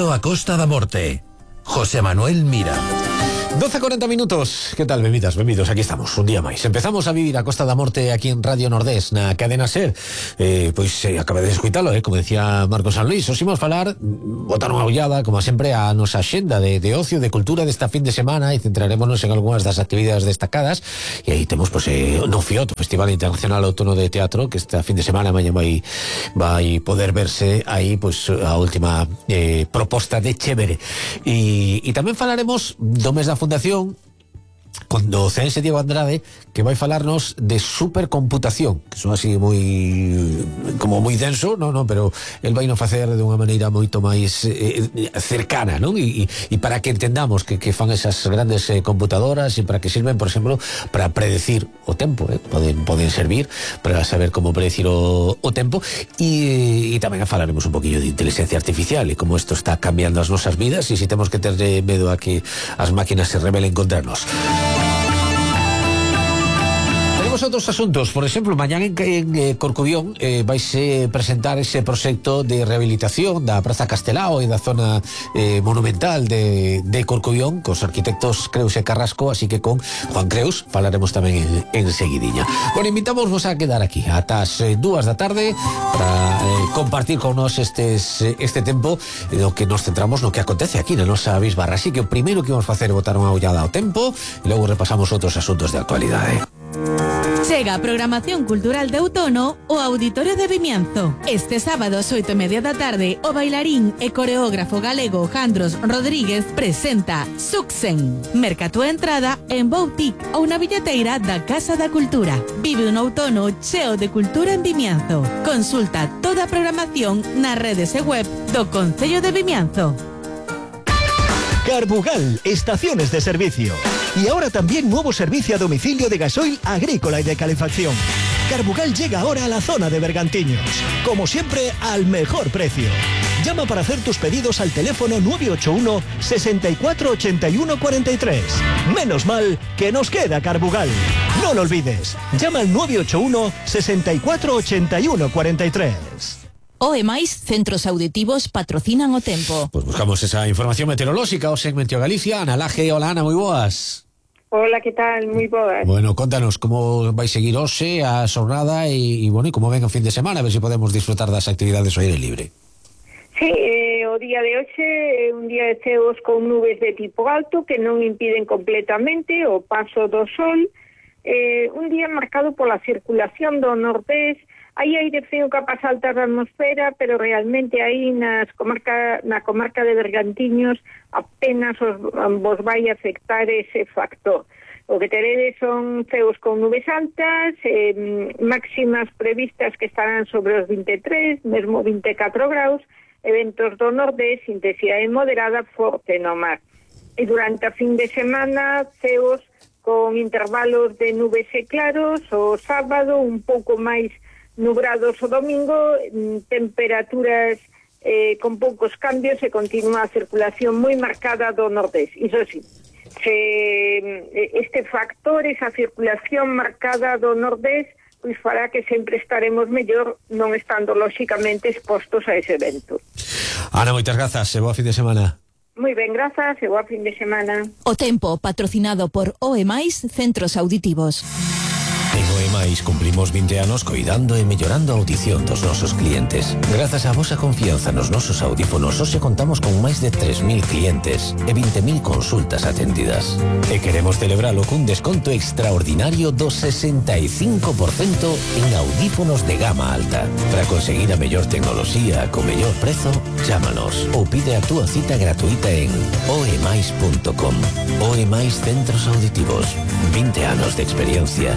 Vivindo a Costa da Morte. José Manuel Mira. 12:40 minutos. ¿Qué tal, benvidos? Aquí estamos, un día máis. Empezamos a vivir a Costa da Morte aquí en Radio Nordés, na cadena SER. Acaba de escuitalo, como decía Marcos San Luis. Os imos falar, botar unha ollada, como sempre, a nosa xenda de ocio, de cultura desta fin de semana, e centrarémonos en algunhas das actividades destacadas. E aí temos, no FIOT, o Festival Internacional Outono de Teatro, que esta fin de semana mañá vai poder verse aí, a última proposta de Chévere. E tamén falaremos do mes da Fundación con o ceense Diego Andrade, que vai falarnos de supercomputación, que son así moi denso, pero el vai nos facer de unha maneira moito máis cercana, non? E para que entendamos que fan esas grandes computadoras e para que sirven, por exemplo, para predecir o tempo, poden servir para saber como predecir o tempo, e tamén falaremos un poquillo de inteligencia artificial e como isto está cambiando as nosas vidas e se temos que ter medo a que as máquinas se rebelen contra nós. Outros asuntos, por exemplo, mañán en Corcubión vaise presentar ese proxecto de rehabilitación da Praza Castelao e da zona monumental de Corcubión cos arquitectos Creus e Carrasco, así que con Juan Creus falaremos tamén en seguidiña. Bueno, invitamos a quedar aquí ata as 2 da tarde para compartir con nos este tempo no que nos centramos no que acontece aquí na nosa bisbarra, así que o primeiro que vamos facer é botar unha ollada ao tempo e logo repasamos outros asuntos de actualidade. Chega a programación cultural de outono o Auditorio de Vimianzo. Este sábado, 8:30 da tarde, o bailarín e coreógrafo galego Jandros Rodríguez presenta Suxen. Merca túa entrada en Boutique ou na billeteira da Casa da Cultura. Vive un outono cheo de cultura en Vimianzo. Consulta toda a programación nas redes e web do Concello de Vimianzo. Carbugal, estaciones de servicio. Y ahora también nuevo servicio a domicilio de gasoil agrícola y de calefacción. Carbugal llega ahora a la zona de Bergantiños. Como siempre, al mejor precio. Llama para hacer tus pedidos al teléfono 981 64 81 43. Menos mal que nos queda Carbugal. No lo olvides. Llama al 981 64 81 43. O máis centros auditivos patrocinan o tempo. Pues buscamos esa información meteorolóxica o segmento Galicia. Ana Laje, hola Ana, moi boas. Hola, que tal? Moi boas. Bueno, contanos como vai seguir hoxe a xornada e como ven o fin de semana, a ver se podemos disfrutar das actividades ao aire libre. Sí, o día de hoxe é un día de ceos con nubes de tipo alto que non impiden completamente o paso do sol. Un día marcado pola circulación do nordés. Hai aire frío capaz alta da atmosfera, pero realmente aí na comarca de Bergantiños apenas vos vai afectar ese factor. O que teredes son ceos con nubes altas, máximas previstas que estarán sobre os 23, mesmo 24 graus, eventos do nordés, intensidade moderada forte no mar. E durante a fin de semana, ceos con intervalos de nubes e claros, o sábado un pouco máis nubrados o domingo, temperaturas con poucos cambios e continúa a circulación moi marcada do nordés. Iso sí, este factor, esa circulación marcada do nordés, pois fará que sempre estaremos mellor non estando lóxicamente expostos a ese evento. Ana, moitas grazas e boa fin de semana. Moi ben, grazas e boa fin de semana. O tempo patrocinado por OEMAIS Centros Auditivos. En OEMAIS cumplimos 20 anos coidando e mellorando a audición dos nosos clientes. Grazas á vosa confianza nos nosos audífonos, hoxe contamos con máis de 3.000 clientes e 20.000 consultas atendidas. E queremos celebralo cun desconto extraordinario do 65% en audífonos de gama alta. Para conseguir a mellor tecnoloxía co mellor prezo, chámanos ou pide a túa cita gratuita en oemais.com. OEMAIS Centros Auditivos. 20 anos de experiencia.